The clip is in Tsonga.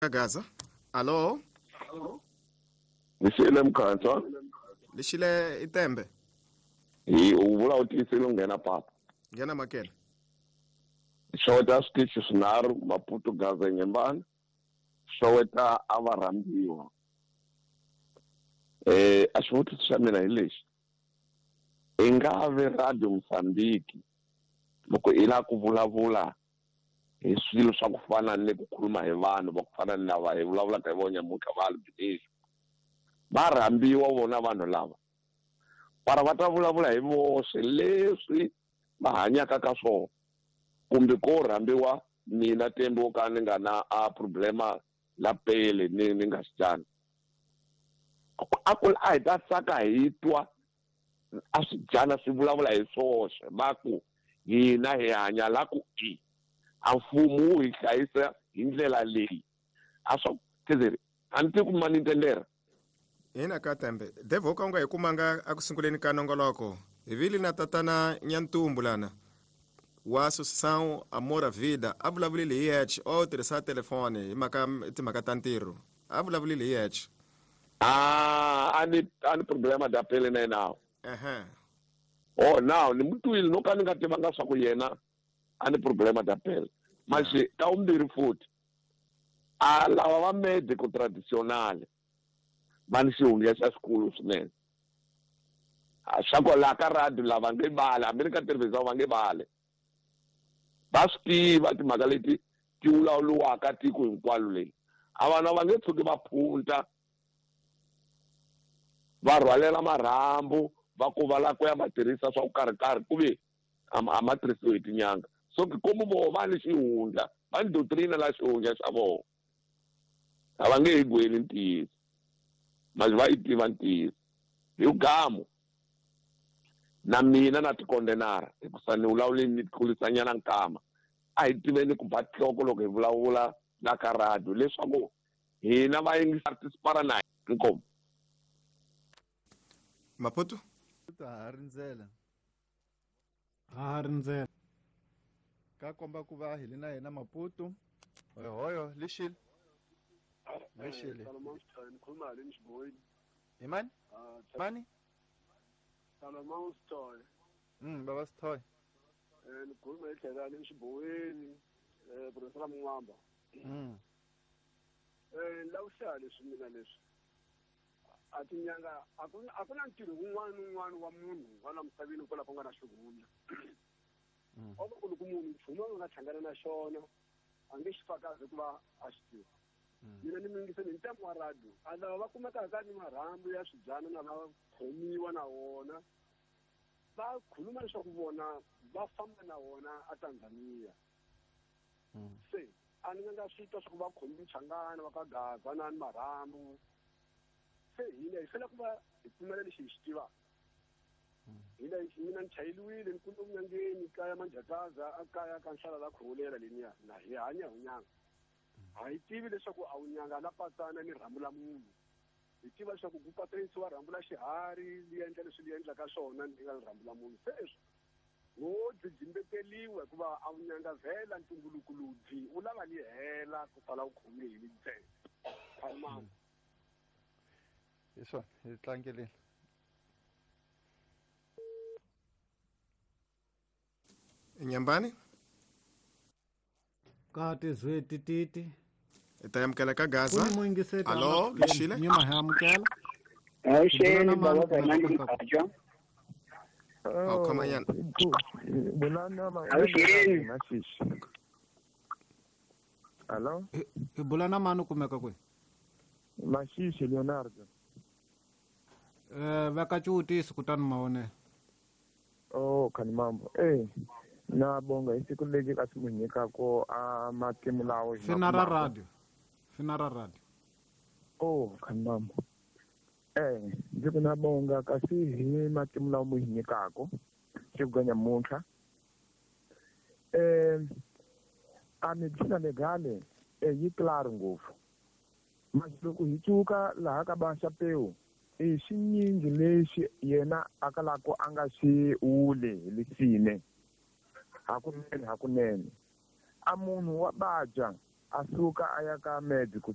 Gaza. Alo? Lixile Mkhansa. Lixile Itembe. Hi u vula u tiyisile u nghena papa. Nghena makela. Xoweta switichi swinharhu Maputo Gaza Nyembani. Xoweta a va rhambiwa. A xivutiso xa mina hi lexi. I nga ve Radio Mozambique loko i lava ku vulavula hi swilo swa ku fana ni ku khuluma hi vanhu va ku fana ni lava hi vulavulaka hi vona nyamuntlha va albinism. Va rhambiwa vona vanhu lava. Para va ta vulavula hi voxe leswi va hanyaka ka swona. Kumbe ko rhambiwa mina Tembe wo ka ni nga na a problema la pele ni nga xidyana. A ku a hi ta tsaka hi twa a swidyana swi vulavula hi swoxe va ku hina hi hanya la ku i a mfumo wu hi hlayisa hi ndlela leyi a swa tizeri a ni tivi ku mani ntendera Ina ka Tembe Devo ka u nga hi kumanga eku sunguleni ka nongoloko hi vile na tatana Nyantumbu lana wa Associação Amor à Vida a vulavulile hi yexe o tirhisa telefoni hi mhaka timhaka ta ntirho a vulavulile hi yexe. Ah, a ni problema da pele na yena. Ehe. Oh, now ni mutwile no ka ni nga tivanga swa ku yena a ni problema da pele. Manje ka vumbirhi futhi a lava va medico traditional va ni xihundla xa xikulu swinene. Swa ku laha ka radio lava nge vale hambi ni ka television va nge vale. Va swi tiva timhaka leti ti vulavuriwaka tiko hinkwalo leyi. A vanhu va nge tshuki va phunta va rhwalela marhambu va ku va lava ku ya ma tirhisa swa ku karhi-karhi ku ve a ma tirhisiwi hi tinyanga. So komu voho va ni xihundla va ni doctrina la xihundla xa vona. A va nge hi gweli ntiyiso. Manje va yi tiva ntiyiso. Hi gamu na mina na tikondenara hikusa ni vulavule ni tlulisanyana nkama. A hi tiveni ku ba nhloko loko hi vulavula la ka radio leswaku hina va yingisa participara na inkomu. Maputo? Ha rindzela. Ha rindzela. Ka komba ku va hi le na yena Maputo. Hoyo lexile. Lexile. Nikhuluma le Nxiboyini. Hi mani? Mani? Salomon Sithole. Baba Sithole. Nikhuluma hi tlhela le Nxiboyini, purasi ra Mun'wamba. Lawuxa leswi mina leswi. A tinyanga a ku na ntirho wun'wana ni wun'wana wa munhu wa la misaveni kwala ku nga na xihundla. O va ku loko munhu nchumu a nga hlangana na xona a nge xi fakazi hikuva a xi tiva. Mina ni mingiseni hi ntamu wa radio a lava va kumekaka ni marhambu ya swibyana na va khomiwa na wona va khuluma leswaku vona va famba na wona a Tanzania. Se a ni nga swi twa swa ku va khomi Changana va ka Gaza na ni marhambu. Se hina hi fanele ku va hi pfumela lexi hi xi tivaka. Hina mina ni chayeliwile ni kule vunyangeni kaya Manjakaza a kaya ka nhlala la Khongolela leniya na hi hanya hi nyanga. A hi tivi leswaku a wu nyanga la patsana ni rhambu la munhu. Hi tiva leswaku ku patsanisiwa rhambu la xiharhi li endla leswi li endlaka swona ni nga rhambu la munhu. Sweswo wo dzimbeteriwa hikuva a wu nyanga vhela ntumbuluko lowudzi wu lava li hela ku sala wu khome hi ntsena. Khalmani. Hi swona hi tlangeleni. Nyambani? Ka tizwe tititi. Hi ta amukela ka Gaza. Alo, Lexile? Nyima hi amukela. Avuxeni baba ka Mkhaja. Oh, khoma nyana. Avuxeni. Alo? Hi bula na mani u kumeka kwihi? Mashishi Leonardo. Veka xivutiso kutani mavonelo. Oh, khani mambo. Na bonga hi siku lexi ka swi mu nyikaka a matimu lawo hi Fina ra radio. Fina ra radio. Oh, khani mambo. Ndzi ku na bonga kasi hi matimu lawo mu hi nyikaka siku ka nyamuntlha. A medicina legale yi claro ngopfu. Manje loko hi cuka laha ka ba Xapeu i xinyingi lexi yena a kalaka a nga xi wuli hi lisine. Hakunene hakunene a munhu wa badya A suka a ya ka médico.